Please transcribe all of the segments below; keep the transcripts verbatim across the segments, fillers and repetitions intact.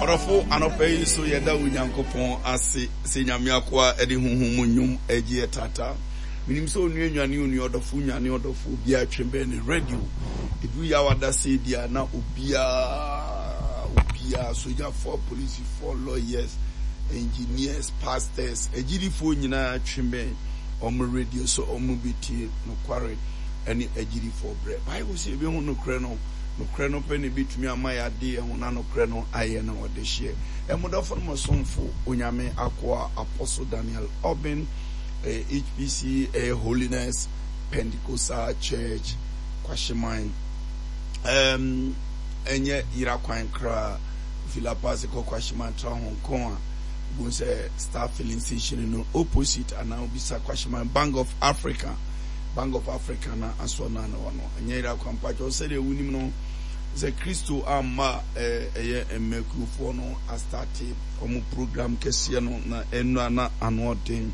Ɔdɔfo, anɔpa yi nso yɛda Onyankopɔn ase sɛ Nyame akoa de honhom mu nnwom agye yɛ taataa. Menim sɛ onua nwane onua, ɔdɔfo nwane ɔdɔfo, obiara twe bɛn ne radio. Ɛduru yaw adasɛe bi a na obiara, obiara, sogyafoɔ, apolisifoɔ, lawyers, engineers, pastors, agyidifoɔ nyinaa twe bɛn wɔn radio so wɔn bɛtie nokware ne agyidifoɔ berɛ. Bible sɛ yɛbɛhu nokorɛ no. Nokorɛ no pɛ na ɛbɛtumi ama yɛade yɛn ho na nokorɛ no ayɛ no ɔdehyeɛ. Mo dɔfo no mo somfo Onyame akoa Apostle Daniel Obeng, ɛyɛ H P C, ɛyɛ Holiness Pentecostal Church, Kwahyeman. Um, ɛnyɛ yera kwan koraa, fi La Paz kɔ Kwahyeman tra Hong Kong a, wobɛhu sɛ Star Filling Station no opposite anaa wobisa Kwahyeman Bank of Africa. Bank of Africa na asɔ no ano no ɛnyɛ yera kwan. Mpakyɛw, sɛdeɛ wonim no sɛ Kristo amma ɛyɛ mmakurofoɔ no astate ɔmo program kɛseɛ no na ɛno na ano ɔden.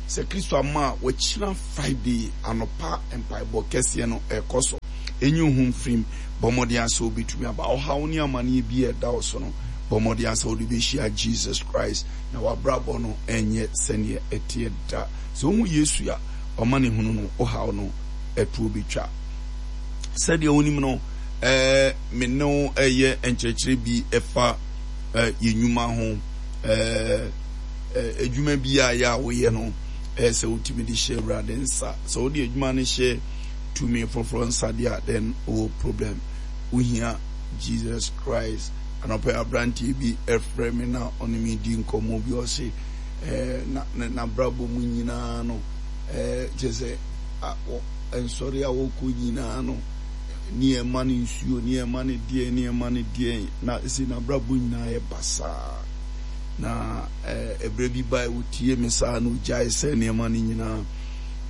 Sɛ Kristo amma a, wɔakyina Friday anɔpa mpaebɔ kɛseɛ no ɛkɔ so. Ɛnyi wo ho mfirim, bɔ mmɔden asɛ wobɛtumi aba. Ɔhaw ne amanneɛ bi a ɛda wo so no, bɔ mmɔden asɛ wode bɛhyia Jesus Christ na wabrabɔ no ɛnyɛ sɛneɛ ɛteɛ da. Sɛ wohu Yesu a, ɔma ne hunu no, ɔhaw no ɛtoɔ bɛtwa. Sɛdeɛ wonim no, ɛɛ me ne wo ɛyɛ nkyerɛkyerɛ bi ɛfa ɛɛ yɛn nnwuma ho. Ɛɛ adwuma bi a yɛ a woyɛ no, ɛyɛ sɛ wotumi de hyɛ Awurade nsa. Sɛ wode adwuma no hyɛ tumi foforɔ nsa deɛ a, then wowɔ problem. Wohia Jesus Christ. Anɔpɛ aberanteɛ bi ɛfrɛ me na ɔne me di nkɔmmɔ bi, ɔse ɛɛ na n'abrabɔ mu nyinaa no, ɛɛ kyerɛ sɛ nsɔre a wɔkɔ nyinaa no, nneɛma no nsuo, nneɛma no deɛ, nneɛma no deɛ, na ɛsɛ n'abrabɔ nyinaa yɛ basaa. Na ɛberɛ bi bae wɔtie me saa na ɔgyae sɛ nneɛma no nyinaa.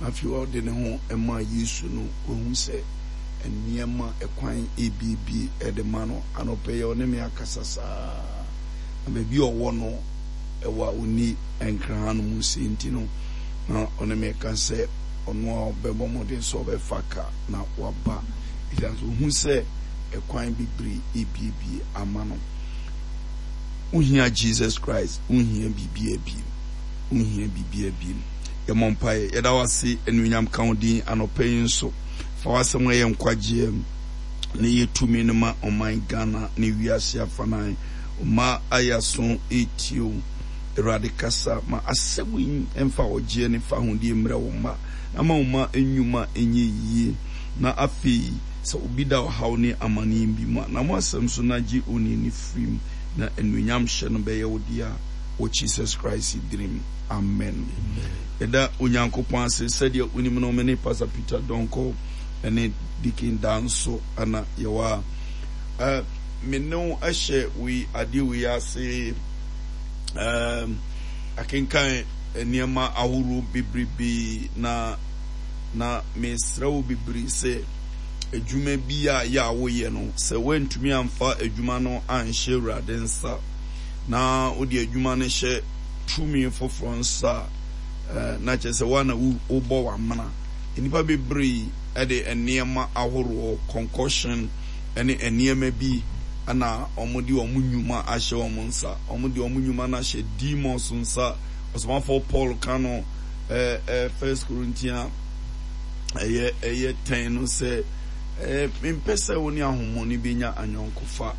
Na afei ɔde ne ho ma Yesu no, wahu sɛ nneɛma ɛkwan ebiebie ɛde ma no. Anɔpɛ yɛ ɔne me akasa saa. Na baabi a ɔwɔ no, ɛwɔ a ɔni nkra no mu sɛ nti no, na ɔne me ka sɛ ɔno a ɔbɛbɔ mmɔden sɛ ɔbɛfa ka na waba. Ɛsiane sɛ ɔhu sɛ ɛkwan bebree ebiebie ama no. Wohia Jesus Christ, wohia biribiara biem. Wohia biribiara biem. Yɛmmɔ mpaeɛ. Yɛda wo ase, anuonyam ka wo din anɔpa yi nso. Fa w'asɛm a ɛyɛ nkwagyeɛ na ɛyɛ tumi no ma ɔman Ghana ne wiase afanan. Ɔma ayaso ɛretie wo. Awurade kasa ma asɛm yi mfa ɔgyeɛ ne fa ahodie mmerɛ wo mma. Na ma wo mma nnwuma nyɛ yie. Na afei sɛ obi da ɔhaw ne amanneɛ bi mu a, na mo asɛm so na gye onii no firi mu, na anuonyam hyɛ no bɛyɛ wo dea wɔ Jesus Christ din. Amen. Yɛda Onyankopɔn ase sɛdeɛ wonim no, me ne Pastor Peter Donkor ne Deacon Danso ana yɛwɔ a. Uh, me ne wo ahyɛ wei adeɛ wei ase, um, akenkan nneɛma ahorow bebrebe, na na mesrɛ wo bebree sɛ adwuma bi a yɛ a woyɛ no, sɛ woantumi amfa adwuma no anhyɛ Awurade nsa na wode adwuma no hyɛ tumi foforɔ nsa a, na kyerɛ sɛ woa na wobɔ w'amena. Nnipa bebree de nneɛma ahoroɔ, concoction ne nneɛma bi na wɔde wɔn nnwuma ahyɛ wɔn nsa. Wɔde wɔn nnwuma no ahyɛ demons nsa. Ɔsomafoɔ Paul ka no, ɛɛ ɛɛ First Corinthians ɛyɛ ɛyɛ ten no sɛ, ɛɛ mempɛ sɛ wo ne ahonhommɔne bɛnya anyɔnkofa.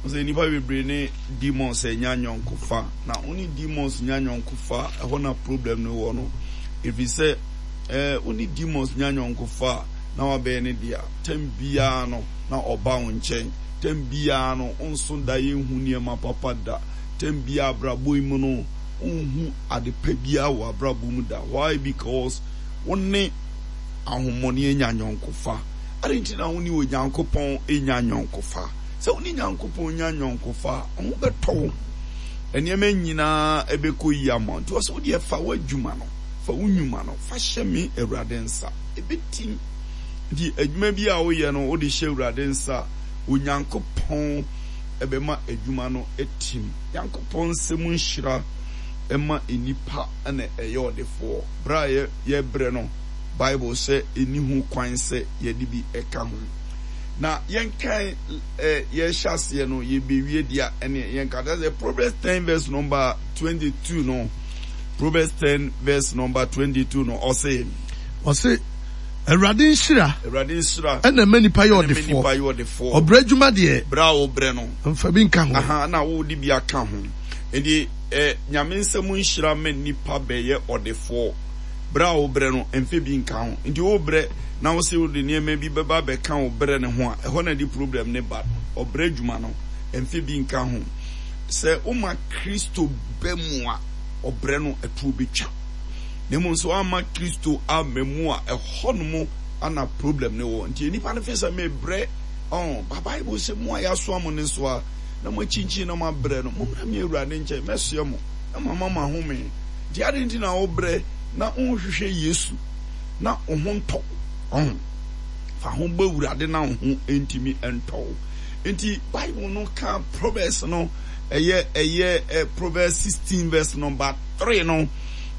Sɛ nnipa bebree ne demons anya anyɔnkofa, na wo ne demons nya anyɔnkofa, ɛhɔ na problem no wɔ no. Ɛfiri sɛ, ɛɛ wo ne demons nya anyɔnkofa na wabɛyɛ ne dea, tɛm biara no na ɔba wo nkyɛn. Tɛm biara no nso da yɛnhu nneɛma papa da. Tɛm biara abrabɔ yi mu no wonhu ade pa biara wɔ abrabɔ mu da. Why? Because wo ne ahonhommɔne anya anyɔnkofa. Ade nti na wo ne Onyankopɔn anya anyɔnkofa. Sɛ wo ne Nyankopɔn nya anyɔnkofa a, ho bɛtɔ wo. Nneɛma nyinaa ɛbɛkɔ yie ama wo. Nti ɔsɛ wo deɛ fa w'adwuma no, fa wo nnwuma no, fa hyɛ me Awurade nsa. Ɛbɛtim. Nti adwuma bi a woyɛ no, wode hyɛ Awurade nsa, Onyankopɔn ɛbɛma adwuma no atim. Nyankopɔn nsɛm nhyira ɛma nnipa na ɛyɛ ɔdefoɔ. Berɛ a yɛbrɛ no, Bible sɛ ɛnni ho kwan sɛ yɛde bi ɛka ho. Na yɛnkan ɛ yɛhyɛ aseɛ no yɛbɛwie deɛ ɛne yɛnka sɛ Proverbs ten verse number twenty two no Proverbs ten verse number twenty two no ɔse. Ɔse Awurade nhyira. Awurade nhyira. Ɛna ɛma nipa yɛ ɔdefoɔ. Nipa yɛ ɔdefoɔ. Ɔbrɛ adwuma deɛ. Brɛ a wobrɛ no. Nfa bi nka ho. Aha na wode bi aka ho. Nti ɛ Nyame nsɛm nhyira ma nipa bɛyɛ ɔdefoɔ. Brɛ a wobrɛ no mfa bi nka ho. Nti wobrɛ na wose wode nneɛma bi bɛba abɛka wo brɛ no ho a, ɛhɔ na ɛde problem no ba. Ɔbrɛ adwuma no mfa bi nka ho. Sɛ woma Kristo ba mu a, ɔbrɛ no ɛtoɔ bɛtwa. Na mmom sɛ woamma Kristo amma mu a, ɛhɔ nom ana problem no wɔ. Nti nnipa no fe sɛ mebrɛ, ɔn, ba Bible sɛ mo a yɛasoa mo nnesoa na moakyinkyin na moabrɛ no, mommra me Awurade nkyɛn, mɛsoɛ mo na mama mo ahome. Nti adɛn nti na wobrɛ na wonhwehwɛ Yesu na wo ho ntɔ wo? Ɔho, fa ho bɔ Awurade na wo ho ntumi ntɔ wo. Nti Bible no ka Proverbs no, ɛyɛ ɛyɛ Proverbs sixteen verse number three no,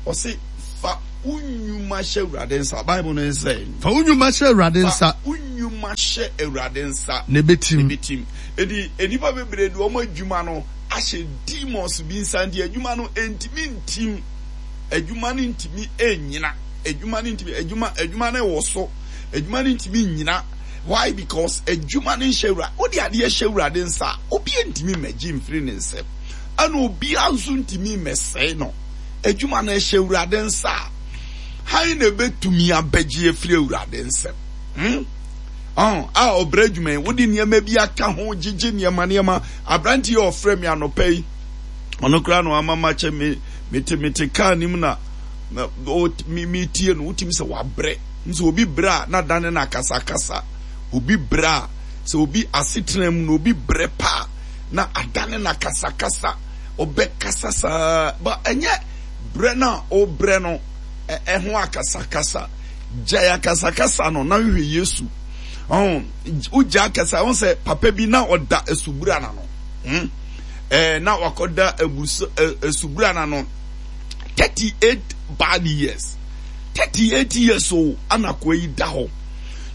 ɔse fa wo nnwuma hyɛ Awurade nsa. Bible no nsɛ. Fa wo nnwuma hyɛ Awurade nsa. Fa wo nnwuma hyɛ Awurade nsa. Na ebetim. Ebetim. Enti nnipa bebree de wɔn adwuma no ahyɛ demons bi nsa nti adwuma no ntumi ntim. Adwuma no ntumi nnyina. Adwuma no ntumi adwuma adwuma no wɔ so. Adwuma no ntumi nnyina. Why? Because adwuma no nhyɛ wura. Wode adeɛ hyɛ Awurade nsa a, obi ntumi mmɛgye mfiri ne nsam. Ɛna obiara nso ntumi mmɛsɛe no. Adwuma no ɛhyɛ Awurade nsa a, han na ebetumi abɛgye afiri Awurade nsam. Hmm? Oh, a ɔbrɛ adwuma yi, wode nneɛma bi aka ho, gyegye nneɛma nneɛma. Aberante yi a ɔfrɛ me anɔpa yi, ɔno koraa na wama makyɛ me mete mete kaa nim na metie no, wotumi sɛ wabrɛ. Nso obi brɛ a na dane no akasakasa. Obi brɛ a, sɛ obi asetena mu na obi brɛ paa na adane no akasakasa. Ɔbɛkasa saa, ba ɛnyɛ brɛ no a ɔbrɛ no ɛho akasakasa. Gyae akasakasa no na hwehwɛ Yesu. Ɔn, wogya akasa, ɔn sɛ papa bi na ɔda asubura n'ano. Hmm? Eh, na wakɔda asubura n'ano thirty-eight bad years. thirty-eight years o, ana akoa yi da hɔ.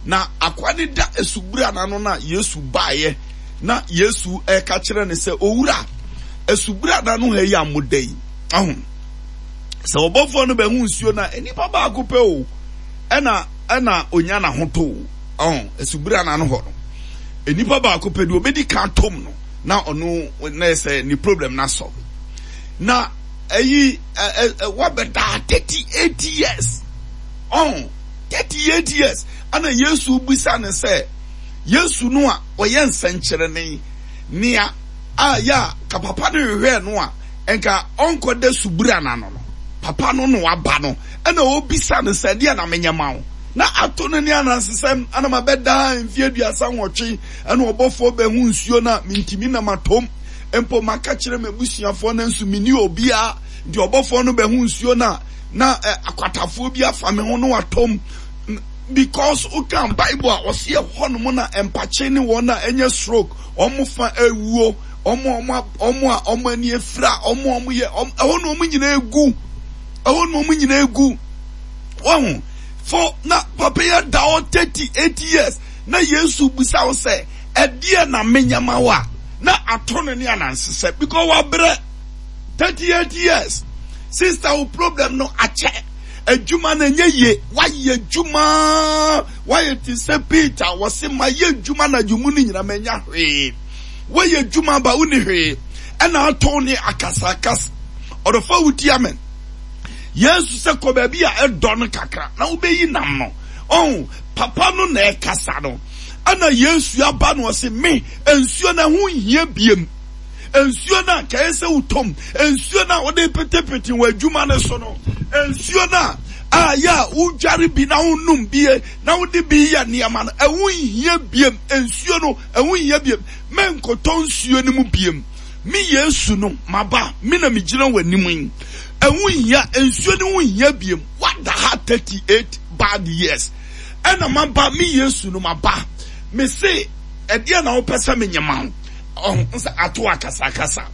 Na akoa no da asubura n'ano na Yesu baeɛ na Yesu ɛka kyerɛ no sɛ, owura, asubura n'ano ha yi a moda yi, ɔho, sɛ ɔbɔfoɔ no bɛhu nsuo no a, nnipa baako pɛ o, ɛna ɛna onya n'ahotɔ o, ɔho, asubura n'ano hɔ no, nnipa baako pɛ deɛ obɛdi kan tom no, na ɔno na ɛsɛ ne problem na sɔ. Na ɛyi wabɛda thirty-eight years, ɔho, thirty-eight years, ɛna Yesu bisa ne sɛ, Yesu no a ɔyɛ nsɛnkyerɛnne nea a ya ka papa no hwehwɛ no a nka ɔnkɔda subura n'ano no, papa no no aba no, ɛna obisa no sɛ, deɛ na menyɛ ma wo? Na ato no ne anansesɛm, ana mabɛda mfeɛ aduasa nwɔtwe, ɛna ɔbɔfoɔ bɛhu nsuo no a mentumi na matom. Mpo maka kyerɛ m'abusuafoɔ no nso menni obiara. Nti ɔbɔfoɔ no bɛhu nsuo no a na akwatafoɔ bi afa me ho no atom. Because wokan Bible a ɔse ɛhɔ nom na mpakye ne wɔn a ɛnyɛ stroke, wɔn fa awuo, wɔn a wɔn a wɔn ani afira, wɔn a wɔn yɛ, ɛhɔ na wɔn nyinaa egu. Ɛhɔ na wɔn nyinaa egu. Wɔn fo na papa yi da hɔ thirty-eight years na Yesu bisa wo sɛ, ɛdeɛ na menyɛ ma wo a? Na ato no ne anansesɛ because wabrɛ thirty-eight years. Sister, wo problem no akyɛ. Adwuma no ɛnyɛ yie. Wayɛ adwuma, wayɛ te sɛ Peter, wɔse mayɛ adwuma na adwuma no nyina manya hwee. Wayɛ adwuma ba wonni hwee. Ɛna ato ne akasakasa. Ɔdɔfo wuti amen. Yesu sɛ kɔ baabi a ɛdɔ no kakra na wobɛyi nam no. Oh, papa no na ɛkasa no. Ɛna Yesu aba no ɔse me nsuo na ho nhia biem. Nsuo na kɛyɛ sɛ wotom. Nsuo na wode petepete wɔ adwuma no so no. Nsuo na a yɛ a wodware bi na wonom bie na wode bi yɛ nneɛma no. Ɛho nhia biem. Nsuo no ɛho nhia biem. Menkɔtɔ nsuo no mu biem. Me Yesu no maba, me na megyina w'anim yi. Ɛho nhia, nsuo no ho nhia biem. Wada ha thirty-eight bad years. Ɛna maba, me Yesu no maba. Me se ɛdeɛ na wopɛ sɛ menyɛ ma wo? Ɔho nsa ato akasakasa.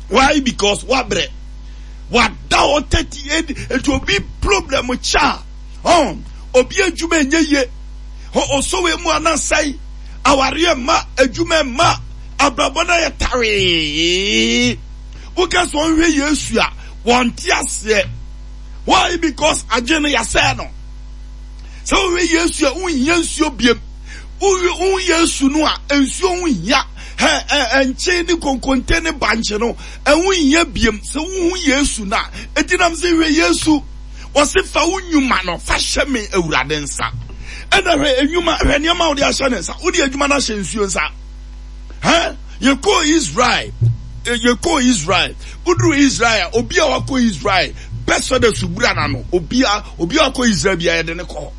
Why? Because wabrɛ. Wada hɔ thirty-eight. Nti obi problem kya. Ɔho, obi adwuma ɛnyɛ yie. Ɔsɔwe mu anasɛe. Awareɛ mma, adwuma mma, abrabɔ no ayɛ tawee. Woka sɛ ɔnhwɛ Yesu a, wɔnte aseɛ. Why? Because adwene no yɛasɛe no. Sɛ wohwɛ Yesu a, wonhia nsuo biem. Wohu Yesu no a, nsuo ho hia. Hɛ, ɛ, nkye ne konkonte ne bankye no, ɛho nhia biem. Sɛ wohu Yesu no a, enti nam sɛ hwɛ Yesu. Wɔse fa wo nnwuma no, fa hyɛ me Awurade nsa. Ɛna hwɛ nnwuma, hwɛ nneɛma a wode ahyɛ ne nsa. Wode adwuma no ahyɛ nsuo nsa. Hɛ, yɛkɔɔ Israel. Yɛkɔɔ Israel. Woduru Israel a, obi a wakɔ Israel, bɛsɔ dɛ subura n'ano. Obi a, obi a wakɔ Israel biara yɛde ne kɔ hɔ.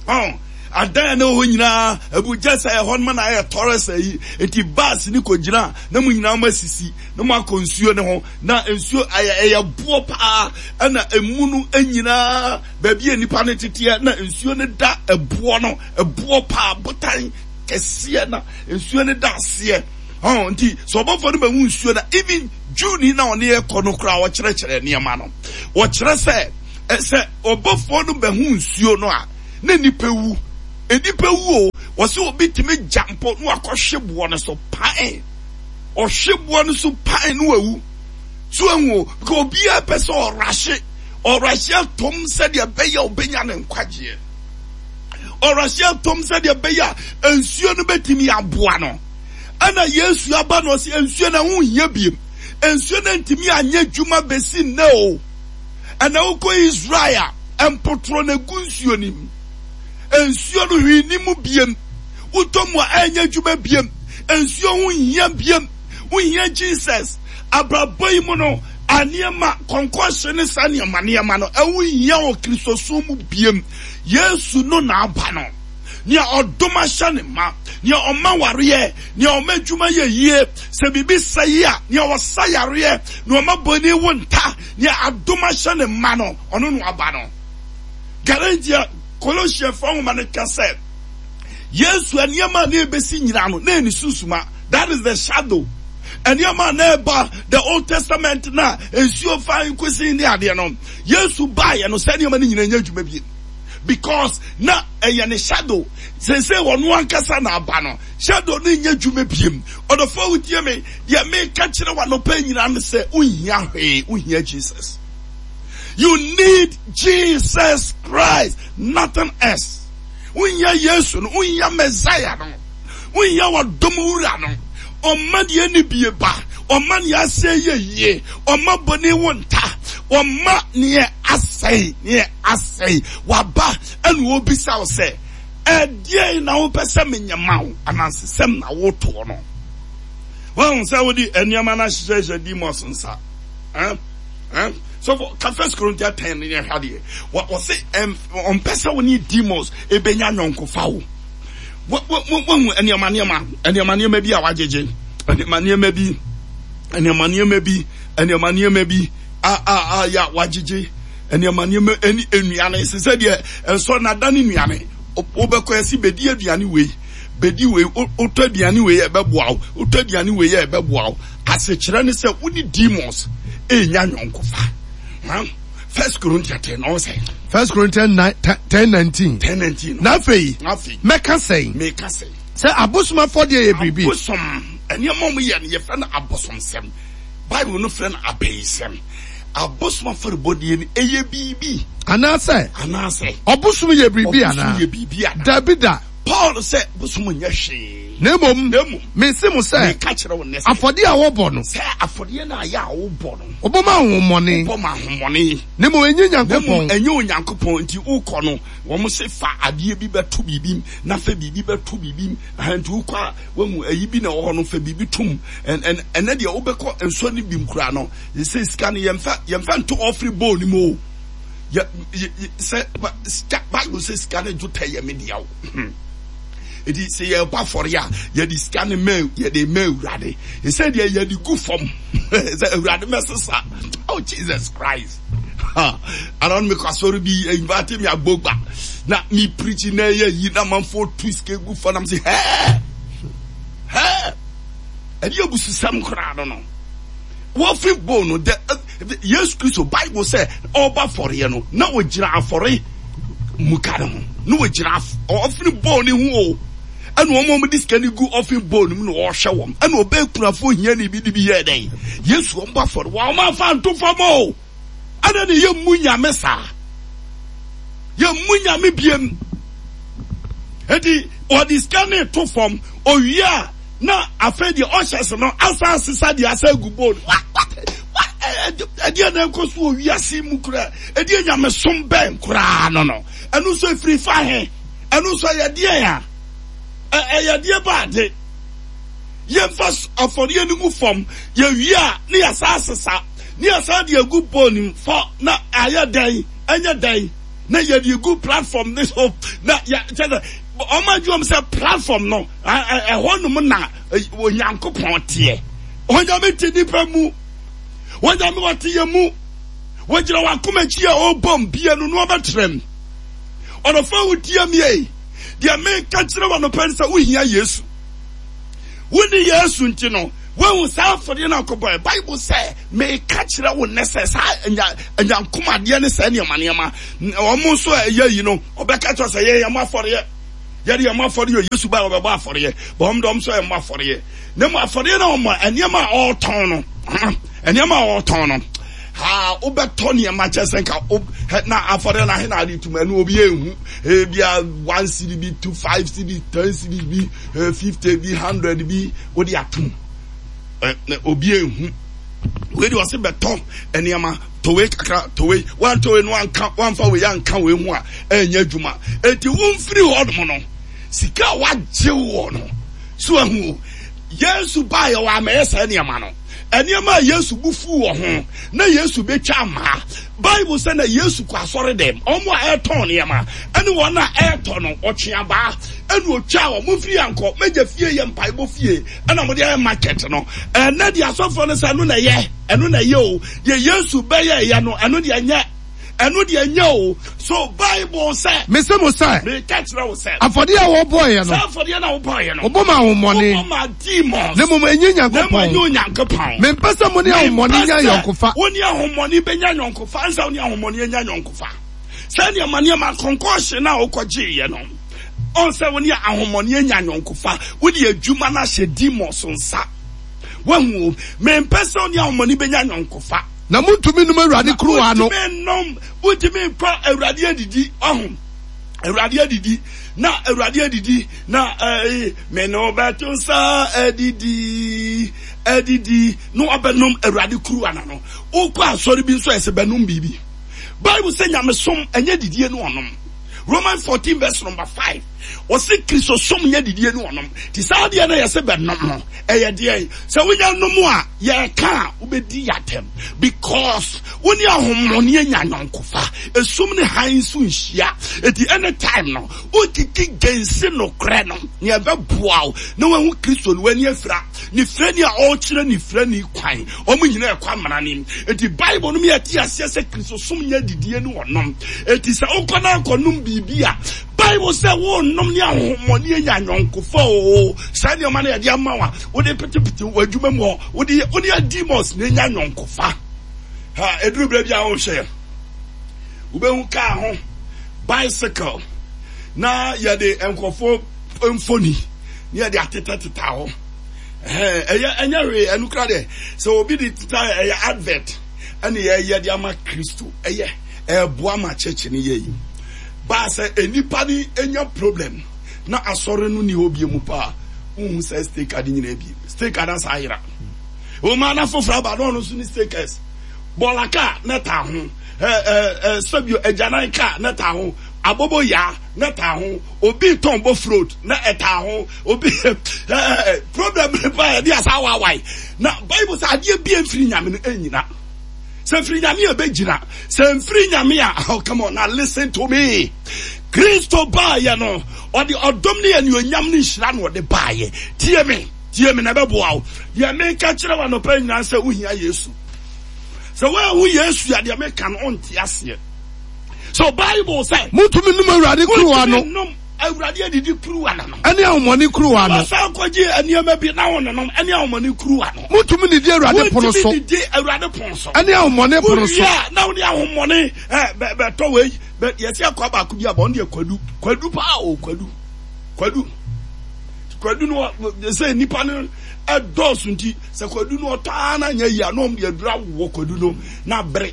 Ɔn, adan a na ɛwɔ hɔ nyinaa, abu gya sɛ ɛhɔ no ma na ayɛ tɔrɛs ayi. Enti bus ne kɔgyina na mo nyinaa mo asisi na mo akɔ nsuo ne ho. Na nsuo ayɛ ɛyɛ boɔ paa, ɛna emu no nyinaa baabi a nipa no teteɛ na nsuo no da ɛboɔ no, ɛboɔ paa, botan kɛseɛ na nsuo no da aseɛ. Ɔn, nti sɛ ɔbɔfoɔ no bɛhu nsuo na even Jewni na ɔne ɛkɔ no koraa ɔkyerɛkyerɛ nneɛma no. Wɔkyerɛ sɛ, sɛ ɔbɔfoɔ no bɛhu nsuo no a, na nipa wu. Nipa wu o, wɔsɛ obi tumi gyampo na wakɔhwe boɔ no so pan. Ɔhwe boɔ no so pan na wawu. So ehu o, because obiara pɛ sɛ ɔrahye, ɔrahye atom sɛdeɛ ɛbɛyɛ ɔbɛnya ne nkwagyeɛ. Ɔrahye atom sɛdeɛ ɛbɛyɛ a nsuo no bɛtumi aboa no. Ɛna Yesu aba na ɔse nsuo no ho nhia biem. Nsuo no ntumi anyɛ adwuma bɛsi nnɛ o. Ɛna wokɔ Israel a, mpotoro na egu nsuo no mu. Nsuo no hwee ni mu biem. Wotɔ mu a ɛnyɛ adwuma biem. Nsuo ho nhia biem. Wohia Jesus. Abrabɔ yi mu no, nneɛma, kɔnkɔnhye ne saa nneɛma nneɛma no, ɛho nhia wɔ Kristosom mu biem. Yesu no na aba no. Nea ɔdom ahyɛ ne ma, nea ɔma wareɛ, nea ɔma adwuma yɛ yie, sɛ biribi sɛe a, nea ɔsa yareɛ, nea ɔma bɔne wo nta, nea adom ahyɛ ne ma no, ɔno na ɔba no. Galatians, Kolosiafoɔ nwoma no ka sɛ, Yesu nneɛma a na ebesi nyinaa no, na ɛne sunsuma. That is the shadow. Nneɛma a na ɛba the Old Testament na nsuo fa nkosi ne adeɛ no, Yesu baeɛ no, sɛ nneɛma no nyinaa nyɛ adwuma bie. Because na ɛyɛ ne shadow. Sese wɔn ankasa na aba no, shadow no nyɛ adwuma biem. Ɔdɔfo wotie me, deɛ meka kyerɛ wa nɔpɛ nyinaa ne sɛ, wohia hwee, wohia Jesus. You need Jesus Christ, nothing else. Wohia Yesu no, wohia Messiah no, wohia wadom wura no. Ɔma deɛ ne bie ba, ɔma nea asɛe yɛ yie, ɔma bɔne wo nta, ɔma nea asɛe, nea asɛe. Waba ɛna obisa wo sɛ, ɛdeɛn na wopɛ sɛ menyɛ ma wo? Anansesɛm na wotoɔ no. Wɔn sɛ wode nneɛma no ahyehyɛhyɛ demons nsa. Eh? Eh? So for First Corinthians ten ne hwɛ adeɛ. Wɔse ɔmpɛ sɛ wo ne demons ebenya nyɔnkofa wo. Wɔhu nneɛma nneɛma, nneɛma nneɛma bi a wagyegye, nneɛma nneɛma bi, nneɛma nneɛma bi, nneɛma nneɛma bi a a a ya wagyegye, nneɛma nneɛma ɛne nnuane sɛ sɛ deɛ nsɔ nada ne nnuane. Wobɛkɔ ɛsi bedi aduane wei, bedi wei, wotɔ aduane wei ɛbɛboa wo, wotɔ aduane wei ɛbɛboa wo. Asekyerɛ ne sɛ wo ne demons enya nyɔnkofa. First Corinthians ten ɔsɛ. First Corinthians nine ten nineteen. Ten nineteen. Na afei. Afei. Mɛka sɛn. Mɛka sɛn. Sɛ abosom afɔdeɛ yɛ biribi. Abosom nneɛma a wɔyɛ no yɛfrɛ no abosomsɛm. Bible no frɛ no abɛyisɛm. Abosom afɔrebɔdeɛ no ɛyɛ biribi. Anaasɛ. Anaasɛ. Ɔbosom yɛ biribi anaa. Ɔbosom yɛ biribi anaa. Dabi da. Paul sɛ bosom nyɛ hwee. Na mmom. Na mmom. Mese mo sɛ. Meka kyerɛ wo nnɛ sɛ. Afɔdeɛ a wɔbɔ no. Sɛ afɔdeɛ no a yɛ a wobɔ no. Wɔbɔ ma ahohommɔne. Wɔbɔ ma ahohommɔne. Na mmom ɛnyɛ Na Nyankopɔn. mmom ɛnyɛ Onyankopɔn. Nti wokɔ no, wɔn se fa adeɛ bi bɛto biribi mu, na fa biribi bɛto biribi mu. Aha, nti wokɔ a, wahu ayi bi na ɛwɔ hɔ no, fa biribi tom. Ɛn, ɛn, ɛnɛ deɛ wobɛkɔ nsuo no bi mu koraa no, sɛ sika no yɛmfa, yɛmfa nto offering bowl no mu o. Yɛ, yɛ, yɛ, sɛ, ba, sika, Bible sɛ sika no dwetɛ yɛ me dea o. Eti sɛ yɛbɔ afɔre a, yɛde sika no ma, yɛde ma Awurade. Sɛ deɛ yɛde gu fam, sɛ Awurade mɛsesa. Oh Jesus Christ. Ha. Ana no mekɔ asɔre bi, invite me agbogba. Na me preach na ɛyɛ yi na manfo tu sika gu fam na me sɛ hɛɛ. Hɛɛ. Ɛde abususɛm koraa no no. Wɔfiri bowl no, the, Yesu Kristo Bible sɛ ɔba afɔreɛ no, na ɔgyina afɔre muka ne ho. Na ɔgyina ɔfiri bowl ne ho o. Ɛna wɔn a wɔde sika no gu offering bowl no mu na wɔrehwɛ wɔn. Ɛna ɔbɛɛ kunafoɔ hiani bi de bi yɛɛ dɛn? Yesu wɔn bɔ afɔre. Wɔn amfa anto fam o. Ɛna ne yɛ mmu Nyame saa. Yɛ mmu Nyame biem. Eti wɔde sika no to fam. Owie a na afei deɛ ɔhyɛ so no asa asesa deɛ asa agu bowl. What what what ɛdeɛ na ɛkɔ so wɔ wiase mu koraa. Ɛdeɛ nyamesom bɛn koraa no no. Ɛno nso efiri fa he? Ɛno nso ɛyɛ deɛn a? Ɛyɛ deɛ ba ade. Yɛmfa afɔreɛ no gu fam. Yɛwie a ne yɛsa asesa. Ne yɛsa de agu bowl no mu fɔ na ayɛ dɛn? Ɛnyɛ dɛn? Na yɛde gu platform ne so. Na yɛ kyɛ sɛ wɔn adwuma mu sɛ platform no ɛhɔ nom na Onyankopɔn teɛ. Onyame te nipa mu. Onyame ɔte yɛ mu. Wɔgyina wakoma akyi a ɔrebɔ mbie no na ɔbɛtrɛm. Ɔdɔfo a wotie me ei, deɛ meka kyerɛ wo anɔpa ne sɛ wohia Yesu. Wonni Yesu nti no, woahu saa afɔdeɛ no akɔbɔɛ. Bible sɛ, meka kyerɛ wo nnɛ sɛ saa anyankomadeɛ ne saa nneɛma nneɛma, wɔn nso a ɛyɛ yi no, ɔbɛka kyerɛ sɛ yɛyɛ mo afɔdeɛ. Yɛde yɛn mo afɔdeɛ, Yesu ba ɔbɛbɔ afɔdeɛ, bɔn wɔn de wɔn nso yɛ mo afɔdeɛ. Na mo afɔdeɛ na wɔn nneɛma a ɔretɔn no, nneɛma a ɔretɔn no, ha wobɛtɔ nneɛma kyɛ sɛ nka na afɔdeɛ na ahe na ade tum ɛno obi ehu ebia one cedi bi two five cedi ten cedi bi fifty bi hundred bi wode atum na obi ehu wei de ɔse bɛtɔ nneɛma tɔ wei kakra tɔ wei wantɔ wei no wanka wanfa wei anka wei ho a ɛnyɛ adwuma eti womfiri hɔ nom no sika a wagye wɔ no so ahu Yesu baayɛ wɔ amɛyɛ saa nneɛma no. Nneɛma a Yesu bu fuu wɔ ho na Yesu betwa amaa. Bible sɛ na Yesu kɔ asɔre dɛm. Wɔn a ɛretɔn nneɛma ne wɔn a ɛretɔ no, ɔtwe abaa ɛna otwa wɔn. Momfiri ha nkɔ, m'agya fie yɛ mpaebɔ fie ɛna mode ayɛ market no. Ɛnɛ deɛ asɔfoɔ no sɛ ɛno na ɛyɛ, ɛno na ɛyɛ o. Deɛ Yesu bɛyɛɛyɛ no, ɛno deɛ ɛnyɛ. Ɛno deɛ ɛnyɛ o. So Bible sɛ. Mese mo sɛ. Meka kyerɛ wo sɛ. Afɔdeɛ a wɔbɔeɛ no. Saa afɔdeɛ no a wɔbɔeɛ no. Wɔbɔ ma ahonhommɔne. Wɔbɔ ma demons. Na mmom ɛnyɛ Nyankopɔn. Na mmom ɛnyɛ Onyankopɔn. Mempɛ sɛ mo ne ahonhommɔne nya ayɔnkofa. Mempɛ sɛ wo ne ahonhommɔne bɛnya ayɔnkofa. Ansa wo ne ahonhommɔne anya ayɔnkofa. Saa nneɛma nneɛma nkɔnkɔnhye no a wokɔgyeeɛ no. Ɔn sɛ wo ne ahonhommɔne anya ayɔnkofa. Wode adwuma no ahyɛ demons nsa. Wahu o. Mempɛ sɛ wo ne ahonhommɔne bɛnya ayɔnkofa. Na montumi nnom Awurade kuruwa no. Wontumi nnom, wontumi nkɔ Awurade adidi, ɔho. Awurade adidi, na Awurade adidi, na ɛɛ me ne ɔbɛto nsa adidi, adidi, na wabɛnom Awurade kuruwa na no. Wokɔ asɔre bi nso ɛsɛ bɛnom biribi. Bible sɛ nyamesom ɛnyɛ didie ne ɔnom. Romans fourteen verse number five. Ɔse Kristosom nyɛ didie ne ɔnom. Ti saa deɛ no yɛsɛ bɛnom no, ɛyɛ deɛn? Sɛ wonya nom a, yɛka a, wobɛdi yɛatɛm. Because wo ne ahommɔne anya ayɔnkofa. Esum ne hann nso nhyia. Eti anytime no, wokiki gensi nokorɛ no, nea ɛbɛboa wo na woahu Kristo no, w'ani afira. Ne firani a ɔrekyerɛ ne firani kwan, wɔn nyinaa ɛkɔ amena nim. Eti Bible no ma yɛte aseɛ sɛ Kristosom nyɛ didie ne ɔnom. Eti sɛ wokɔ na akɔnom biribi a, Bible sɛ wonnom ne ahohommɔne anya ayɔnkofa oo. Saa nneɛma no yɛde ama wo a, wode petepete w'adwuma mu hɔ, wode yɛ, wone demons na anya ayɔnkofa. Ha, eduru berɛ bi a wohwɛ, wobɛhu kaa ho, bicycle, na yɛde nkurɔfoɔ mfoni na yɛde atetɛtetɛ hɔ. Ɛyɛ ɛnyɛ hwee, ɛno kura deɛ, sɛ obi de teta ɛyɛ advert, ɛne yɛyɛ de ama Kristo, ɛyɛ ɛboa ma church no yɛ yi. Baa sɛ nnipa no nya problem na asɔre no ni hɔ bie mu paa, wohu sɛ stake ade nyinaa bi, stake ada saa ayera. Wɔn ana foforɔ aba na ɔno nso ne stakers. Bɔɔla kaa na taa ho, ɛɛ ɛɛ sɛbio agyanan kaa na taa ho, abobo yaa na taa ho, obi tɔn bofrot na ɛtaa ho, obi ɛɛ problem ne ba yɛde asa awaawae. Na Bible sɛ adeɛ bi mfiri nyame no ɛnyina. Sɛ mfiri nyame a ɛbɛgyina, sɛ mfiri nyame a, oh come on now listen to me. Kristo baayɛ no, ɔde ɔdom ne anuonyam ne nhyira na ɔde baayɛ. Tie me, tie me na ɛbɛboa wo. Deɛ meka kyerɛ wo anɔpa nyinaa sɛ wohia Yesu. Sɛ woanhu Yesu a, deɛ meka no ɔnte aseɛ. So Bible sɛ, Montumi nnom Awurade kuruwa no. Montumi nnom Awurade adidi kuruwa no. Ɛne ahomɔne kuruwa no. Wɔsan kɔgye nneɛma bi na wɔnonom ɛne ahomɔne kuruwa no. Montumi nidi Awurade pono so. Montumi nidi Awurade pono so. Ɛne ahomɔne pono so. Wowie a na wɔde ahomɔne ɛ bɛ bɛtɔ wei bɛ yɛsi akɔ baako bi abɔ ɔno deɛ kwadu kwadu paa o kwadu kwadu Kwadu no sɛ nipa no ɛdɔɔso nti sɛ kwadu no ɔtɔ ara na nyɛ yie a na wɔn de aduru awowɔ kwadu no na abere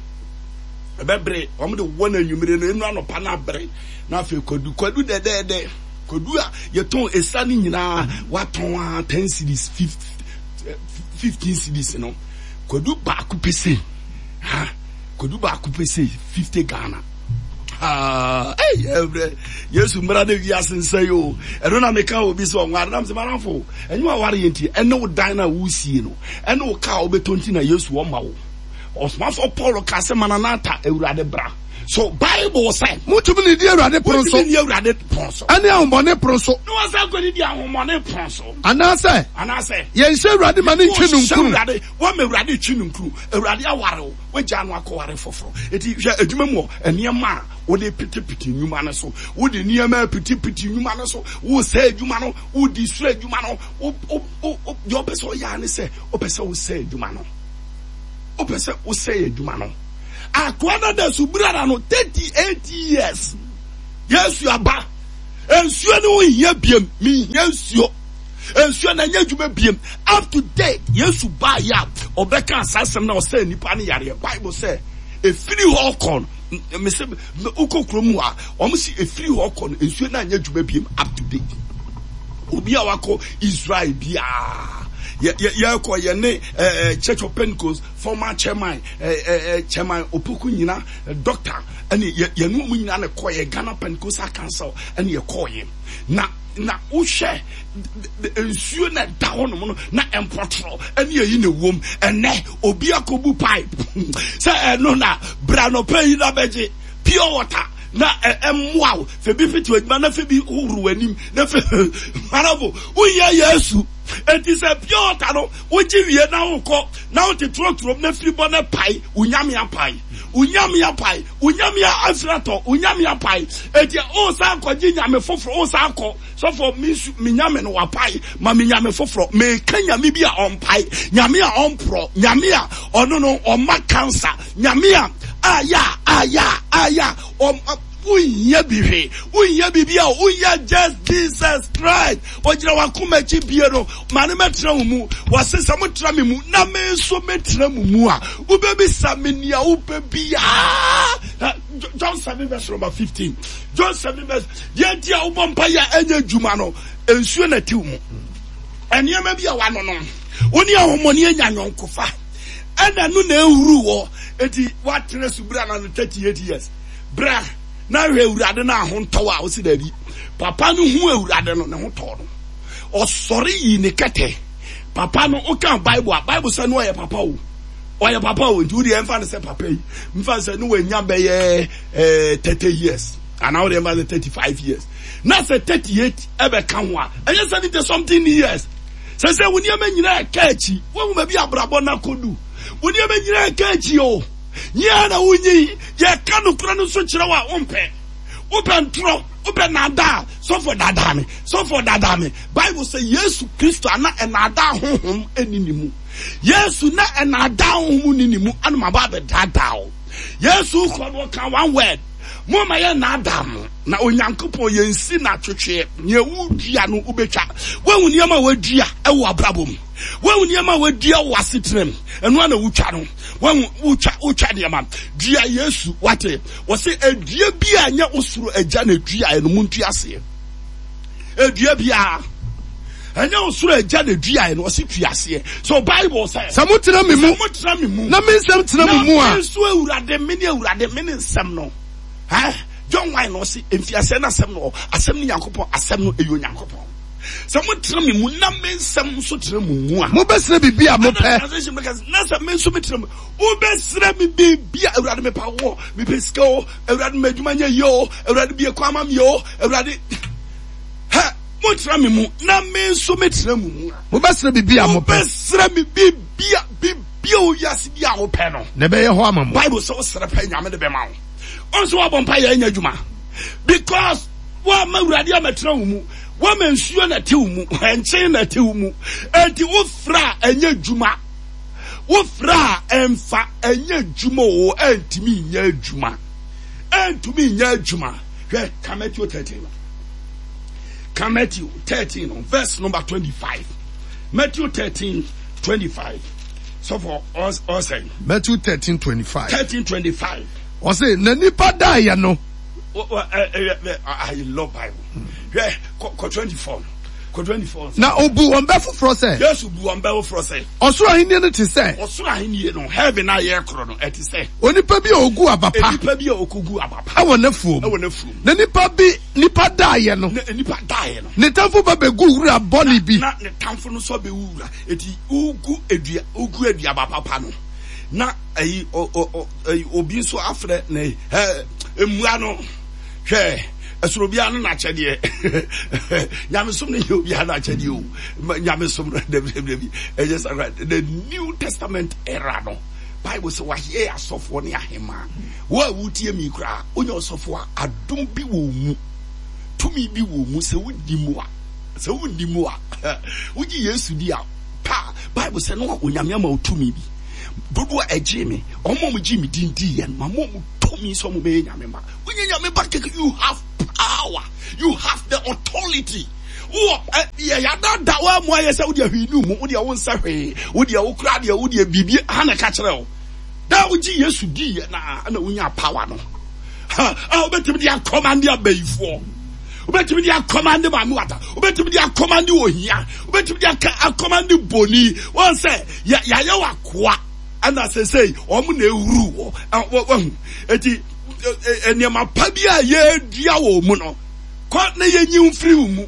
ɛbɛbere wɔn de wɔ no anwummere no enu anɔpa na abere na afei kwadu kwadu dɛdɛɛdɛ kwadu a yɛtɔn esa ne nyinaa watɔn a ten cedis fifteen cedis no kwadu baako pese ha kwadu baako pese fifty Ghana. Ah, hey, Yesu mmara ne wiase nsa yi o. Ɛno na meka obi sɛ ɔnware nam sɛ manafo. Ɛnyɛ waware yɛ nti ɛne wo dan na wosie no. Ɛne wo kaa wobɛtɔ nti na Yesu ɔma wo. Ɔsomafo Paul ka sɛ Maranatha Awurade bra. So Bible sɛ mutumi ne di Awurade pono so. Mutumi ne Awurade pono so. Ɛne ahommɔne pono so. Ne wɔn sɛ nkɔni di ahommɔne pono so. Anaasɛ. Anaasɛ. Yɛnhyɛ Awurade ma ne ntwi no nkuru. Awurade wɔn ma Awurade twi no nkuru. Awurade aware wo. Wagya no akɔware foforɔ. Eti hwɛ adwuma mu hɔ nneɛma a wode pitipiti nnwuma no so. Wode nneɛma pitipiti nnwuma no so. Wosɛ adwuma no, wodi soro adwuma no. Wo wo wo deɛ ɔpɛ sɛ ɔyɛ ne sɛ ɔpɛ sɛ wosɛ adwuma no. Ɔpɛ sɛ wosɛ adwuma no. Akoa no da subura no thirty eight years. Yesu aba. Nsuo no ho hia biem. Mehia nsuo. Nsuo na nyɛ adwuma biem. Up to date, Yesu baa yɛ a ɔbɛka asasɛm na ɔsɛ nipa ne yareɛ. Bible sɛ efiri hɔ kɔ no, mese wokɔ kurom hɔ a wɔn si efiri hɔ kɔ no nsuo na nyɛ adwuma biem up to date. Obi a wakɔ Israel biara yɛ yɛ yɛkɔ yɛ ne ɛɛ Church of Pentecost former chairman ɛɛ ɛɛ chairman Opoku nyina doctor ɛne yɛ yɛne wɔn nyinaa na kɔ yɛ Ghana Pentecostal Council ɛne yɛ kɔɔ yɛ na na wohwɛ nsuo na ɛda hɔ nom no na mpɔtorɔ ɛne ɛyi na ɛwom ɛnɛ obi akɔbu pipe sɛ ɛno na bra nɔpɛ yi na bɛgye pure water na ɛmmoa wo fɛ bi fiti adwuma na fɛ bi hohoro w'anim na fɛ marafo woyɛ Yesu enti sɛ pure water no wogye wie na wokɔ na wote turoturom na firi bɔ na pae wo nyame apae wo nyame apae wo nyame afiri atɔ wo nyame apae enti o san kɔgye nyame foforɔ o san kɔ sɔfo mi nsu mi nyame no wapae ma mi nyame foforɔ meka nyame bi a ɔmpae nyame a ɔmporɔ nyame a ɔno no ɔma cancer nyame a aya aya aya ɔm wonya bi hwee wonya biribi a wonya just Jesus Christ ogyina wakoma akyi bie no ma ne mɛtena wo mu wɔse sɛ motena me mu na me nso mɛtena mu mu a wobɛbisa me nea wopɛ biaa. John seven verse number fifteen. John seven verse deɛ nti a wobɔ mpa yɛ a ɛnyɛ adwuma no nsuo na ɛte wo mu nneɛma bi a wano no wo ne ahomɔne anya nyɔnkofa ɛna no na ɛhuru wɔ eti woatena subura na no thirty eight years bra na hwɛ Awurade no ahontɔw a wosi daabi papa no hu Awurade no ne ho tɔɔ no ɔsɔre yi ne kɛtɛ papa no woka Bible a Bible sɛ no ɔyɛ papa o ɔyɛ papa o nti wodeɛ ɛmfa no sɛ papa yi mfa sɛ no wanya bɛyɛ thirty years anaa wodeɛ ɛmfa sɛ thirty five years na sɛ thirty eight ɛbɛka ho a ɛnyɛ seventy something years sɛ sɛ wo nneɛma nyinaa ɛka akyi woahu baabi abrabɔ no akɔdu wo nneɛma nyinaa ɛka akyi o nyɛ na wonyi yɛka nokora no nso kyerɛ wo a wompɛ wopɛ ntorɔ wopɛ naadaa sɔfo daadaa me sɔfo daadaa me Bible sɛ Yesu Kristo ana ɛnaadaa honhom ɛni ne mu Yesu na ɛnaadaa honhom ni ne mu anum aba abɛdaadaa o Yesu kɔ no ɔka one word mo ma yɛ naadaa mo na Onyankopɔn yɛnsi na atwetweɛ nea wodua no wobɛtwa woahu nneɛma a wadua ɛwɔ abrabɔ mu woahu nneɛma a wadua wɔ asetena mu ɛno ana wotwa no woahu wotwa wotwa nneɛma dua Yesu wate wɔse edua bi a nyɛ osoro agya na edua ɛno mu ntua aseɛ edua bi a ɛnyɛ osoro agya na edua ɛno ɔse tua aseɛ so Bible sɛ sɛ motena me mu sɛ motena me mu na me nsɛm tena mo mu a na me nso Awurade me ne Awurade me ne nsɛm no eh John one no ɔse mfiaseɛ na asɛm no asɛm ne Nyankopɔn asɛm no ɛyɛ Onyankopɔn sɛ motena me mu na me nsɛm nso tena mo mu a mobɛsrɛ biribi a mopɛ translation bɛka na sɛ me nso metena mu wobɛsrɛ me biribi a Awurade mepa wɔ mepɛ sika o Awurade ma adwuma nyɛ yie o Awurade bie kwan ma me o Awurade hɛ motena me mu na me nso metena mo mu a mobɛsrɛ biribi a mopɛ wobɛsrɛ me biribi a biribi a owiase bi a wopɛ no na ɛbɛyɛ hɔ ama mo Bible sɛ wosrɛ pɛ Nyame de bɛma wo ɔnso woabɔ mpa yɛ ɛnyɛ adwuma because woama Awurade amɛtena wo mu woama nsuo na ɛte wo mu ɛnkyen na ɛte wo mu enti wofrɛ a ɛnyɛ adwuma wofrɛ a ɛmfa ɛnyɛ adwuma o ɛntumi nyɛ adwuma ɛntumi nyɛ adwuma hwɛ ka Matthew thirteen Ka Matthew thirteen no verse number twenty-five. Matthew thirteen twenty-five. So for us, us Matthew thirteen twenty-five. thirteen twenty-five. Ɔse na nipa daeɛ no. I love Bible. Hwɛ kɔ twenty-four. Kɔ twenty-four. Na obu wɔn bɛ foforɔ sɛ. Yesu bu wɔn bɛ foforɔ sɛ. Ɔsoro ahenni no te sɛ. Ɔsoro ahenni no heaven a yɛ korɔ no ɛte sɛ. Onipa bi a ogu aba pa. Onipa bi a okogu aba pa. Ɛwɔ n'afuom. Ɛwɔ n'afuom. Na nipa bi nipa daeɛ no. Na nipa daeɛ no. Ne tamfo ba bɛgu wura bɔne bi. Na ne tamfo no nso bɛwu wura. Eti ugu edua ugu eduaba papa no. Na ayi o o obi nso afrɛ na ɛ emua no hwɛ ɛsoro bia no n'akyɛdeɛ nyamesom no yɛ obia n'akyɛdeɛ o nyamesom no dabi ɛyɛ sakra. The New Testament era no Bible sɛ wayɛ asɔfoɔ ne ahema. Wo a wotie mi koraa wonya ɔsɔfoɔ a adom bi wɔ mu, tumi bi wɔ mu sɛ wodi mu a sɛ wodi mu a wogye Yesu di a pa Bible sɛ no Onyame ama wo tumi bi dodo a ɛgye me ɔmo mo gye me din di yɛn ma mo mo tumi sɛ ɔmo bɛyɛ nyame ma wonyɛ nyame ba keke. You have power, you have the authority. Wo yɛ yadada wa mu ayɛ sɛ wode ahwii ne mu wode wo nsa hwee wode wo kora deɛ wode biribi ha na ka kyerɛ wo da wogye Yesu di yɛ na na wonya power no ha a wobɛtumi de akɔmande abayifoɔ, wobɛtumi de akɔmande maame wata, wobɛtumi de akɔmande ohia, wobɛtumi de akɔmande boni. Wɔn sɛ yɛayɛ wakoa ɛna sɛsɛi wɔn na ewuru wɔ wahu eti nneɛma pa bi a yɛdua wɔ mu no kɔ na yɛnyi mfiri wo mu.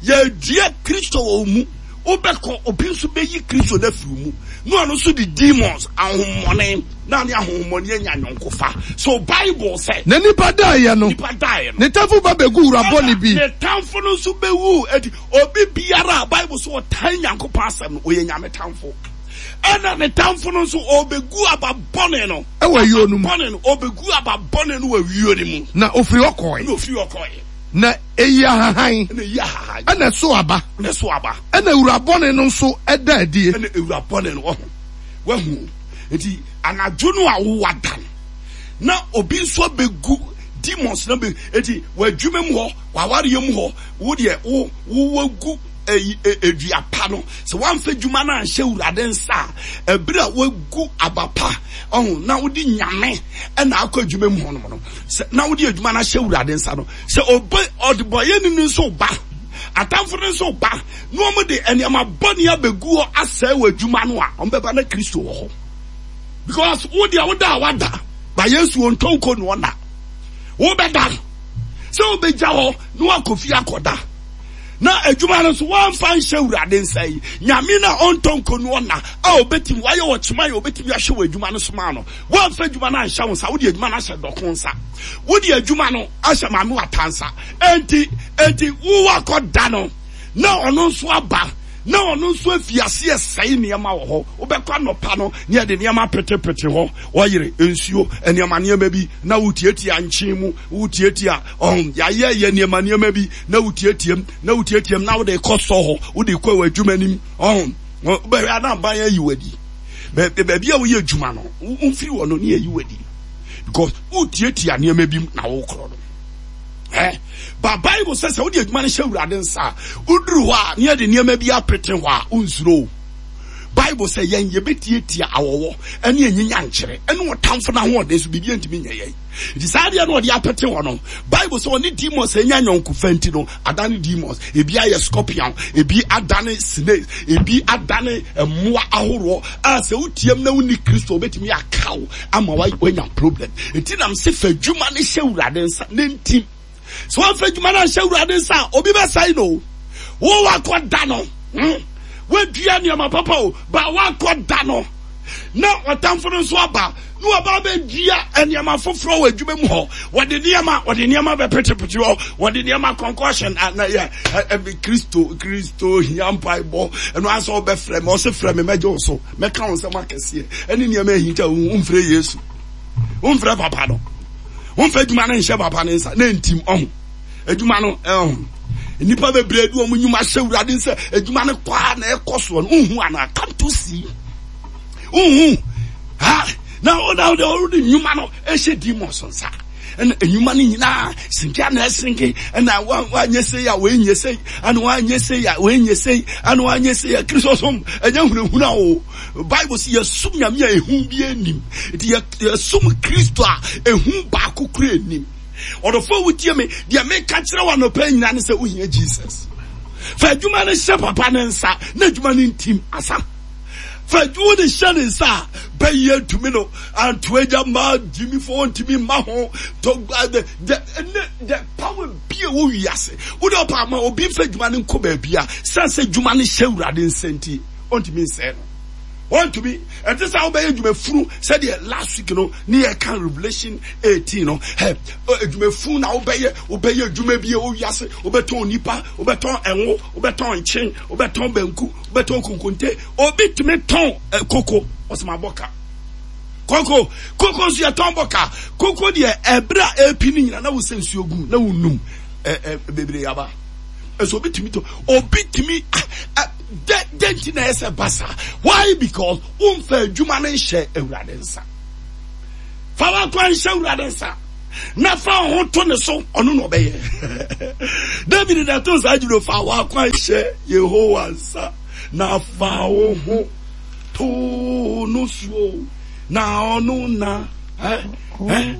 Yɛdua Kristo wɔ mu, wobɛkɔ obi nso bɛyi Kristo no afiri mu na ɔno nso de demons ahommɔne na ne ahommɔne anya nyɔnkofa. So Bible sɛ na nipa daeɛ no nipa daeɛ no ne tamfo ba bɛgu wura bɔne bi, ne tamfo no nso bɛwu. Eti obi biara a Bible so ɔtan Nyankopɔn asɛm no ɔyɛ Nyame tamfo, ɛna ne tamfo no nso ɔbɛgu aba bɔne no ɛwɔ ayuo no mu, bɔne no ɔbɛgu aba bɔne no wɔ ayuo no mu. Na ofiri hɔ kɔe. Na ofiri hɔ kɔe. Na eyi ahahan. Na eyi ahahan. Ɛna ɛso aba. Na ɛso aba. Ɛna ewura bɔne no nso ɛda adie. Ɛna ewura bɔne no ɔho wahu. Eti anadwo no a wowɔ da no na obi nso abɛgu demons na bɛ eti w'adwuma mu hɔ w'awareɛ mu hɔ wo deɛ wo wo wagu eyi edua pa no sɛ wamfa adwuma no anhyɛ Awurade nsa a ɛberɛ a wagu aba pa ɔho na wode Nyame ɛna akɔ adwuma mu hɔ nom no sɛ na wode adwuma no ahyɛ Awurade nsa no sɛ obe ɔdebɔyɛ ni nso ba atamfo no nso ba na wɔn de nneɛma bɔne abɛgu hɔ asɛe wɔ adwuma no a wɔn bɛba na Kristo wɔ hɔ because wo deɛ woda a wada ba Yesu ɔntɔ nko na ɔna wobɛda sɛ wobɛgya hɔ na wakɔ fie akɔda na adwuma no nso wɔamfa nhyɛ Awurade nsa yi Nyame na ɔntɔ nko no ɔna a obɛtumi wayɛ wɔ kyema yɛ obɛtumi ahwɛ wɔ adwuma no so ma no wɔamfa adwuma no anhyɛ wo nsa wode adwuma no ahyɛ dɔko nsa wode adwuma no ahyɛ maame wata nsa enti enti wo wakɔda no na ɔno nso aba na ɔno nso afi ase ɛsɛe nneɛma wɔ hɔ wobɛkɔ anɔpa no ne yɛde nneɛma petepete hɔ ɔyere nsuo nneɛma nneɛma bi na wotietia nkyen mu wotietia ɔn yɛayɛ yɛ nneɛma nneɛma bi na wotietia na wotietia na wode kɔ sɔ hɔ wode kɔ wɔ adwuma nim ɔn wobɛhwɛ anaban ayi wadi baabi a woyɛ adwuma no womfiri wɔ no ne ayi wadi because wotietia nneɛma bi na wokorɔ no. Eh, ba Bible sɛ sɛ wode adwuma no hyɛ Awurade nsa a woduru hɔ a ne yɛde nneɛma bi apete hɔ a wonsuro. Bible sɛ yɛn yɛbɛtietia awɔwɔ ɛne anyinya nkyerɛ ɛne ɔtamfo no ahoɔden so biribi ntumi nyɛ yɛn. Nti saa adeɛ no ɔde apete hɔ no Bible sɛ ɔne demons anya nyɔnkofa nti no adane demons, ebi ayɛ scorpion, ebi adane snake, ebi adane mmoa ahoroɔ a sɛ wotiam na wonni Kristo wobɛtumi aka wo ama wanya problem. Nti nam sɛ fa adwuma no hyɛ Awurade nsa ne ntim. Sɛ wɔmfa adwuma no anhyɛ Awurade nsa a obi bɛsɛe no. Wo wakɔda no, hmm? Wadua nneɛma papa o, ba wakɔda no na ɔtamfo no nso aba na waba abɛdua nneɛma foforɔ wɔ adwuma mu hɔ. Wɔde nneɛma, wɔde nneɛma bɛpetepete hɔ, wɔde nneɛma concussion na yɛ Kristo Kristo hia mpaebɔ ɛno asɛ ɔbɛfrɛ me ɔsɛ frɛ me mɛgye wo so mɛka wo nsɛm akɛseɛ ɛne nneɛma ahinta wo mfrɛ Yesu womfrɛ papa no womfrɛ adwuma no nhyɛ papa no nsa na ntim ɔho adwuma no ɛho nnipa bebree de wɔn nnwuma hyɛ Awurade nsa adwuma no kɔ a na ɛkɔ soɔ no wohu anaa come to see wohu ha na wo na wo de nnwuma no ɛhyɛ demons nsa Ɛna enyuma no nyinaa sinke ana ɛsinke ɛna wanyɛ sei a wei nyɛ sei ɛna wanyɛ sei a wei nyɛ sei ɛna wanyɛ sei a Kristo som ɛnyɛ hunahuna o. Bible sɛ yɛsom Nyame a ehu bi anim. Nti yɛsom Kristo a ehu baako kura anim. Ɔdɔfo a wotie me, deɛ meka kyerɛ wo anɔpa nyinaa ne sɛ wohia Jesus. Fa adwuma no hyɛ papa ne nsa na adwuma no ntim asa. Fa adwuma no hyɛ ne nsa a bɛyɛ ntumi no anto agya ma gyimifo ntumi mma ho to the the the power bi a ɛwɔ wiase. Wode ɔpa ama obi mfa adwuma no nkɔ baabi a sɛ sɛ adwuma no hyɛ Awurade nsa nti ɔntumi nsɛe no. Wɔntumi. Ɛte sɛ wobɛyɛ adwumafunu sɛdeɛ last week no ne yɛka Revelation eighteen no. Hɛ, adwumafunu na wobɛyɛ, wobɛyɛ adwuma bi wɔ wiase, wobɛtɔn nipa, wobɛtɔn ɛnwo, wobɛtɔn nkyen, wobɛtɔn banku, wobɛtɔn konkonte. Obi tumi tɔn eh, koko, ɔsɛ ma bɔ ka. Koko, koko nso yɛtɔn bɔ ka. Koko deɛ ɛberɛ a ɛpi no nyina na wosɛ nsuo gu na wonum eh, eh, bebree aba. Ɛsɛ obi tumi tɔ, obi tumi dɛ dɛ nti na ɛsɛ ba saa. Why? Because womfa adwuma no nhyɛ Awurade nsa. Fa w'akwan nhyɛ Awurade nsa na fa wo ho to ne so, ɔno na ɔbɛyɛ. David na ɛto saa adwuma, fa w'akwan hyɛ Yehowa nsa na fa wo ho to no so na ɔno na ɛ ɛ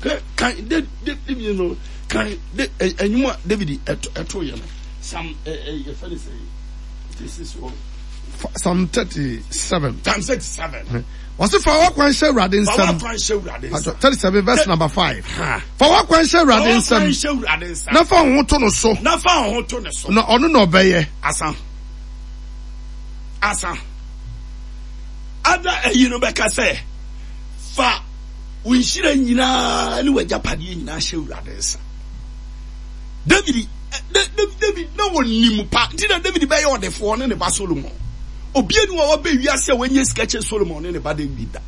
ɛ kan de de de no kan de ɛnwom a David ɛto ɛto yɛ no. Psalm yɛfɛ ne sɛ this is what Psalm thirty-seven. Psalm thirty-seven. Wɔsi fa w'akwan hyɛ Awurade nsam. Fa w'akwan hyɛ Awurade nsam. Thirty-seven verse number five. Fa w'akwan hyɛ Awurade nsam. Fa w'akwan hyɛ Awurade nsam. Na fa wo ho to no so. Na fa wo ho to ne so. Na ɔno na ɔbɛyɛ. Asa. Asa. Ada ɛyi no bɛka sɛ fa wo nhyira nyinaa ne w'agyapadeɛ nyinaa hyɛ Awurade nsa. David David na wɔnim pa nti na David bɛyɛ ɔdefoɔ ne ne ba Solomon. Obie ni wɔ wɔbɛ wiase a wɔnyɛ sika kyɛ Solomon ne ne ba David da.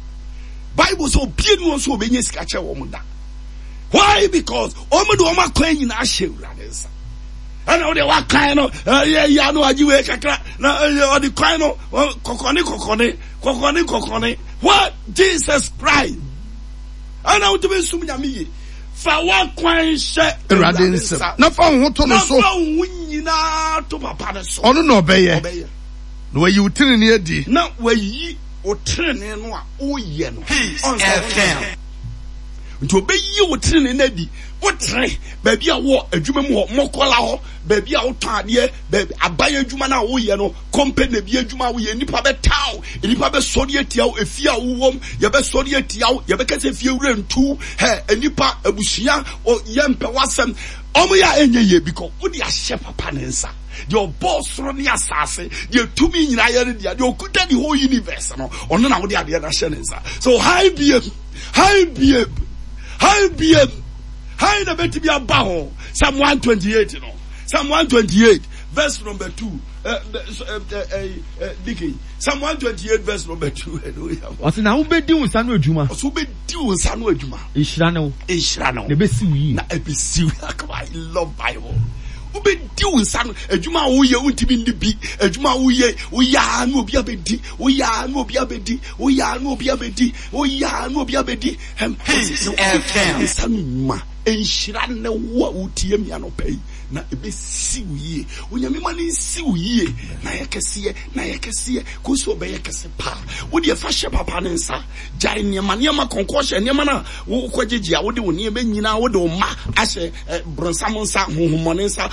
Bible sɛ obie ni wɔn nso wɔbɛnyɛ sika kyɛ wɔn da. Why? Because wɔn de wɔn akwan nyinaa hyɛ Awurade nsa. Ɛna wɔde wakan no ɛyɛ ya no agye wei kakra na ɔde kwan no kɔkɔne kɔkɔne kɔkɔne kɔkɔne. What? Jesus Christ. Ɛna wotumi nsum Nyame yie. Fa w'akwan hyɛ Awurade nsam na fa wo ho to no so. Na fa wo ho nyinaa to papa no so. Ɔno na ɔbɛyɛ. Ɔbɛyɛ. Na wayi wo tenenee adi. Na wayi wo tenenee no a woyɛ no. Peace F M. Nti ɔbɛyi wo tenenee no adi. Wotere baabi a wɔ adwuma mu hɔ, mɔkɔla hɔ, baabi a wotɔn adeɛ, baabi aban adwuma no a woyɛ no, company bi adwuma a woyɛ, nnipa bɛtaa wo, nnipa bɛsɔre atia wo, efie a wowɔ mu, yɛbɛsɔre atia wo, yɛbɛka sɛ fie wura ntu, hɛ, nnipa, abusua, yɛmpɛ w'asɛm. Ɔmo yɛ a ɛnyɛ yie because wode ahyɛ papa ne nsa. Deɛ ɔbɔɔ soro ne asase, deɛ tumi nyinaa yɛ ne dea, deɛ ɔkuta the whole universe no, ɔno na wode adeɛ no ahyɛ ne nsa. So hi biem, hi biem, hi biem, hi na bɛtumi aba ho. Psalm one twenty-eight no, Psalm one twenty-eight verse number two. Uh, uh, uh, uh, Dickie, Psalm one twenty-eight verse number two. Ɔsɛ na wobɛdi wo nsa no adwuma. Ɔsɛ wobɛdi wo nsa no adwuma. Nhyira ne wo. Nhyira ne wo. Na ɛbɛsi wo yie. Na ɛbɛsi wo yie. I love Bible. Wobɛdi wo nsa no adwuma a woyɛ wontumi nni bi. Adwuma a woyɛ woyɛ a na obi abɛdi. Woyɛ a na obi abɛdi. Woyɛ a na obi abɛdi. Woyɛ a na obi abɛdi. Peace F M. Nsa no nnwuma. Nhyira ne wo a wotie me anɔpa yi. Na ɛbɛsi wo yie. Onyame ma no nsi wo yie. Na yɛ kɛseɛ, na yɛ kɛseɛ. Kɔsi ɔbɛyɛ kɛse paa. Wo deɛ fa hyɛ papa ne nsa. Gyae nneɛma, nneɛma kɔnkɔhyɛ, nneɛma no a wokɔgyegye a wode wo nneɛma nyinaa, wode wo mma ahyɛ bronsam nsa, honhommɔne nsa.